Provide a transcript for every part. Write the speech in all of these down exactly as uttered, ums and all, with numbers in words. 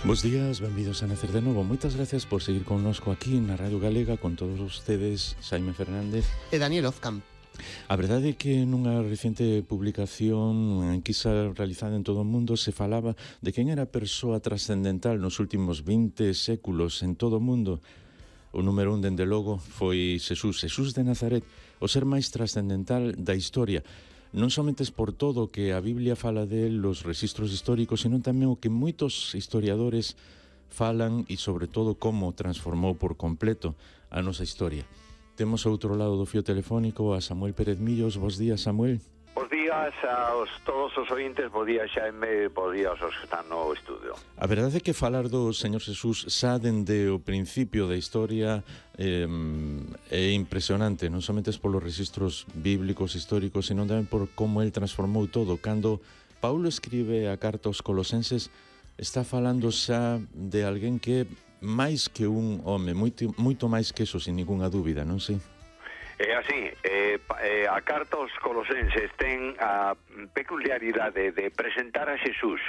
Bos días, benvidos a Nacer de Novo. Moitas gracias por seguir connosco aquí na Radio Galega con todos ustedes, Xaime Fernández e Daniel Ozcam. A verdade é que nunha recente publicación en enquisa realizada en todo o mundo se falaba de quen era a persoa trascendental nos últimos vinte séculos en todo o mundo. O número un, dende logo, foi Xesús, Xesús de Nazaret, o ser máis trascendental da historia. Non somente por todo o que a Biblia fala del, os registros históricos, senón tamén o que moitos historiadores falan e, sobre todo, como transformou por completo a nosa historia. Temos ao outro lado do fío telefónico a Samuel Pérez Millos. Bos días, Samuel. Bos días a os, todos os ointes, bos días Xaime, bos días aos que están no estudio. A verdade é que falar do Señor Xesús xa dende o principio da historia eh, é impresionante, non somente polos registros bíblicos, históricos, senón tamén por como el transformou todo. Cando Paulo escribe a carta aos colosenses, está falando xa de alguén que é máis que un home, moito, moito máis que eso, sin ninguna dúbida, non sei? É así, eh, eh, a carta aos colosenses ten a peculiaridade de presentar a Xesús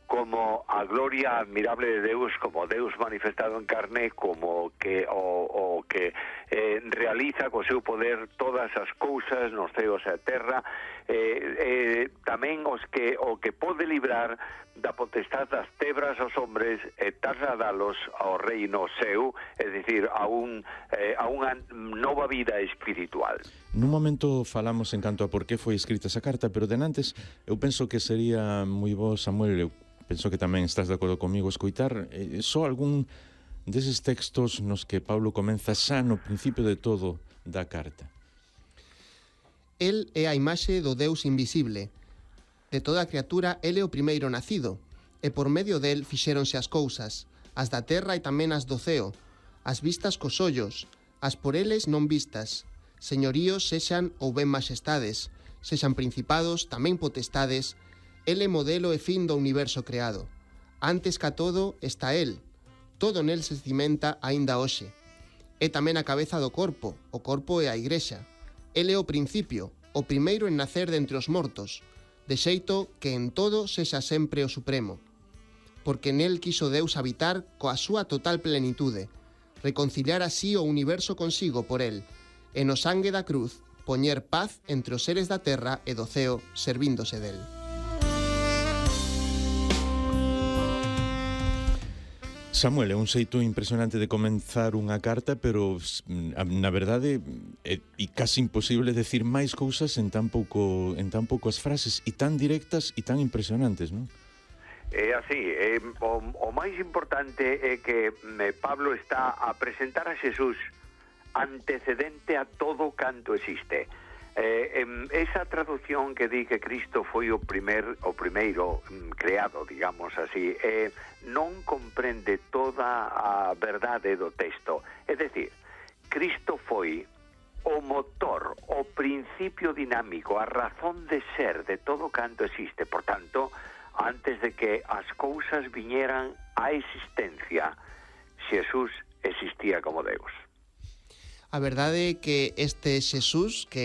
como a gloria admirable de Deus, como Deus manifestado en carne, como que o, o que eh, realiza co seu poder todas as cousas nos ceos e a terra, eh, eh, tamén os que o que pode librar da potestad das tebras aos hombres e trasladalos ao reino seu, é dicir, a, un, eh, a unha nova vida espiritual. Nun momento falamos en canto a por que foi escrita esa carta, pero denantes eu penso que sería moi bo, Samuel, eu penso que tamén estás de acordo comigo, escoitar eh, só algún deses textos nos que Paulo comeza xa no principio de todo da carta. El é a imaxe do Deus invisible. De toda a criatura, el é o primeiro nacido, e por medio del fixéronse as cousas, as da terra e tamén as do ceo, as vistas cos ollos, as por eles non vistas, señoríos sexan ou ben maxestades, sexan principados, tamén potestades. El é modelo e fin do universo creado. Antes ca todo está el, todo nel se cimenta aínda hoxe. É tamén a cabeza do corpo, o corpo é a igrexa. El é o principio, o primeiro en nacer de entre os mortos, de xeito que en todo sexa sempre o supremo. Porque nel quiso Deus habitar coa súa total plenitude, reconciliar así o universo consigo por el, e no sangue da cruz poñer paz entre os seres da terra e do ceo, servíndose del. Samuel, é un xeito impresionante de comenzar unha carta, pero na verdade é, é casi imposible decir máis cousas en tan pouco en tan poucas frases e tan directas e tan impresionantes, non? É así, é, o, o máis importante é que me, Pablo está a presentar a Xesús antecedente a todo canto existe. Eh, em, esa traducción que di que Cristo foi o primer o primeiro mm, creado, digamos así, eh, non comprende toda a verdade do texto. É dicir, Cristo foi o motor, o principio dinámico, a razón de ser de todo canto existe. Por tanto, antes de que as cousas viñeran á existencia, Xesús existía como Deus. A verdade é que este Xesús, que